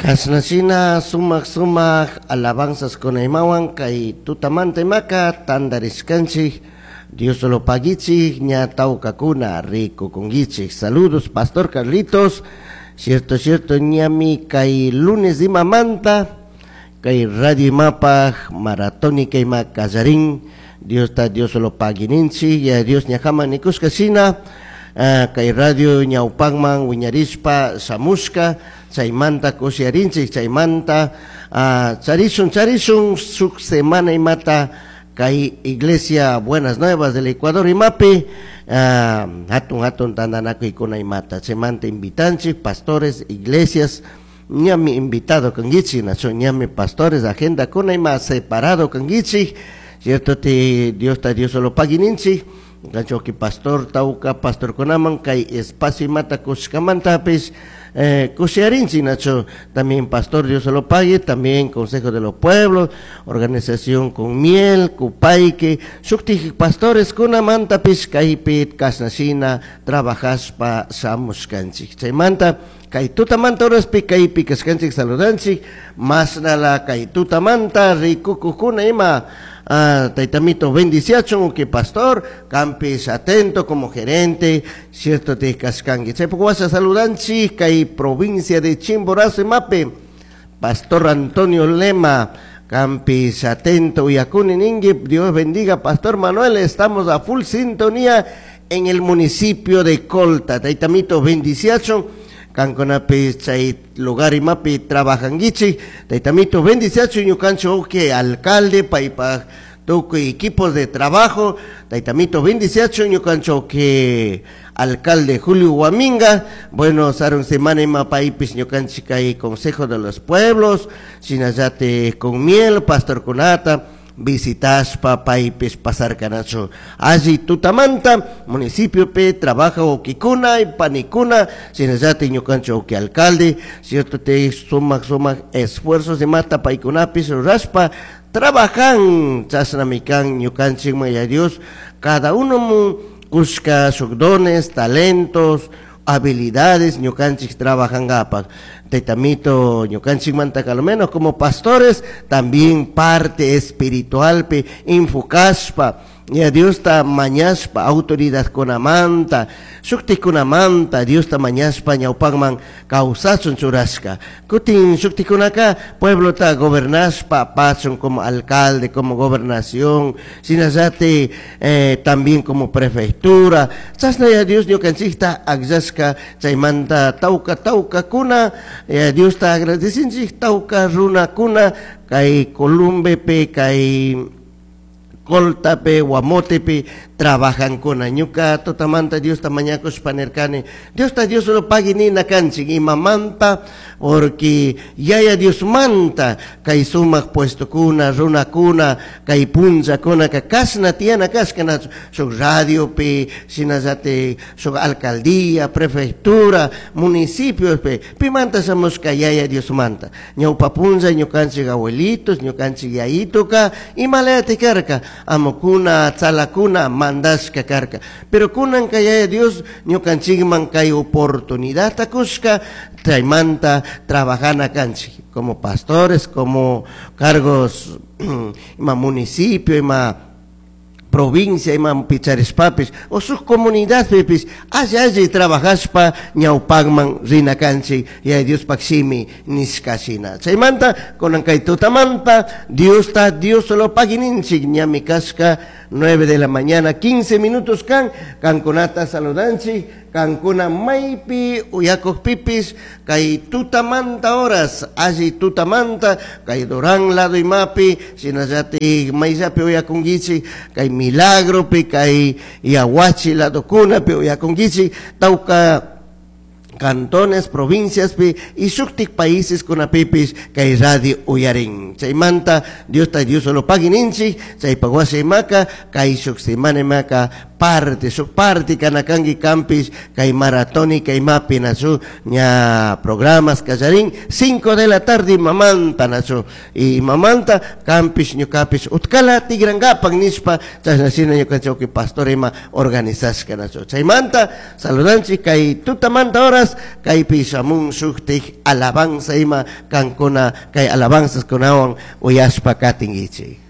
Kashnashina sumak sumak alabanzas kunaymawan kay tutamanta imaka tantarishkanchik. Dios lo paguichik, ña tawkakuna rikukunkichik. Saludos, Pastor Carlitos. Cierto, cierto, ñami kay lunes imamanta kay radio imapaj maratónica ima kallarin. Diosta Dios lo paguininchik, ya Dios ñajaman nikushka shina kay radio ñawpakman wiñarishpa shamushka, chaymanta kushiyarinchik, chaymanta charishun, charishun shuk semana imata kay Iglesia Buenas Nuevas del Ecuador imapi hatun hatun tantanakuykuna imata, chaymanta invitanchik pastores, iglesias, ñami invitado kankichik, nacho ñami pastores agenda kuna ima separado kankichik, cierto te Diosta Dios lo paguininchik, kanchoki pastor tawka pastorkunaman kay espacio imata kushkamantapis kushiyarinchik, nacho también pastor Dios lo pague, también Consejo de los Pueblos, organización con miel, Kupayke, shuktik pastores kunamantapis kaypi kashnashina trabajashpa shamushkanchik. Chaymanta kay tutamanta horaspi kaypi kashkanchik saludanchik, mashnala kay tutamanta rikukukuna ima taytamito bendiciachun que pastor campis atento como gerente cierto te kashkanki. Chaypuk washa saludanchik kay provincia de Chimborazo imapi Pastor Antonio Lema campis atento uyakuni ningi. Dios bendiga Pastor Manuel, estamos a full sintonía en el municipio de Colta. Taytamito bendiciachun kankunapi chay lugar imapi trabajankichik. Taytamito bendiciachun ñukanchik que alcalde paypaj tukuy equipos de trabajo. Taytamito bendiciachun ñukanchik que alcalde Julio Guaminga. Bueno, sarun semana ima paypis ñukanchik kay Consejo de los Pueblos, shinallate con miel, pastor kunata visitashpa paypis pasarkanachu. Alli tutamanta municipio pe trabaja ukikuna y panikuna, shinallate ñukanchik uki alcalde, cierto te sumak sumak esfuerzos de mata paykunapis rurashpa trabajan chashnami kan ñukanchik maya Dios cada uno mu kushka sus dones, talentos, habilidades ñukanchik trabajangapak. Taytamito ñukanchikmanta al menos como pastores también parte espiritual pe enfocashpa ya Diosta mañashpa autoridad kunamanta shuktikunamanta Diosta mañashpa ñawpakman kawsachun churashka. Kutin shuktikunaka pueblota gobernashpa pachun como alcalde, como gobernación, shinallate también como prefectura. Chashna ya Dios ñukanchikta akllashka chaymanta tawka tawka kuna ya Diosta agradecinchik tawka runakuna kay Columbepe kay Coltape, Guamotepe, trabajan kuna. Ñuka tutamanta Diosta mañakushpa nirkani. Diosta Dios lo pagui nina kanchik imamanta, porque yaya Dios manta kay sumak puesto kuna, runa kuna, kay punlla kuna, ka kasna tiana kashka shuk radio pe, shinallate shuk alcaldía, prefectura, municipio pe, pimanta shamushka yaya Dios manta. Ñawpa punlla ñukanchik abuelitos, ñukanchik yayituka, imalayati karka, amukuna, tzalakuna, mandashka karka. Pero kunan kay Dios ñukanchikman kay oportunidad takushka, chaymanta trabajana kanchik, como pastores, como cargos, ima municipio, ima provincia, ima picharishpapis, o sus comunidadpipis, alli alli trabajashpa ñawpakman rina kanchik, ya Dios pakshimi nishkashina. Chaymanta, kunan kay tutamanta, Diosta, Dios solo pagininchik, ñami kashka, 9 de la mañana, 15 minutos kan, kankunata saludanchik, kankuna maypi uyakuq pipis, kay tutamanta horas, alli tutamanta, kay Durán lado imapi, shinallati mayllapi uyakunkichik, kay Milagropi, kay Yahuachi lado kunapi uyakunkichik, tawka cantones, provincias pi y shuktik países kunapipis kay radio uyarin. Chaymanta Diosta Dios solo pagininchik, chaypa wasi imaka, kay shuk semana imaka. Parte, shuk parte kana kanki kanpish kay maratónica imapi, nachu? Ña programas kallarin 5 de la tarde mamanta, nachu? Y mamanta kanpish ñukapish utkala tigrankapak nishpa chashna shina ñukanchik pastor ima organizashka, nachu? Chaymanta saludanchik kay tutamanta horas kaypi shamun shuktik alabanza ima kankuna kay alabanzaskunawan uyashpa katinkichik.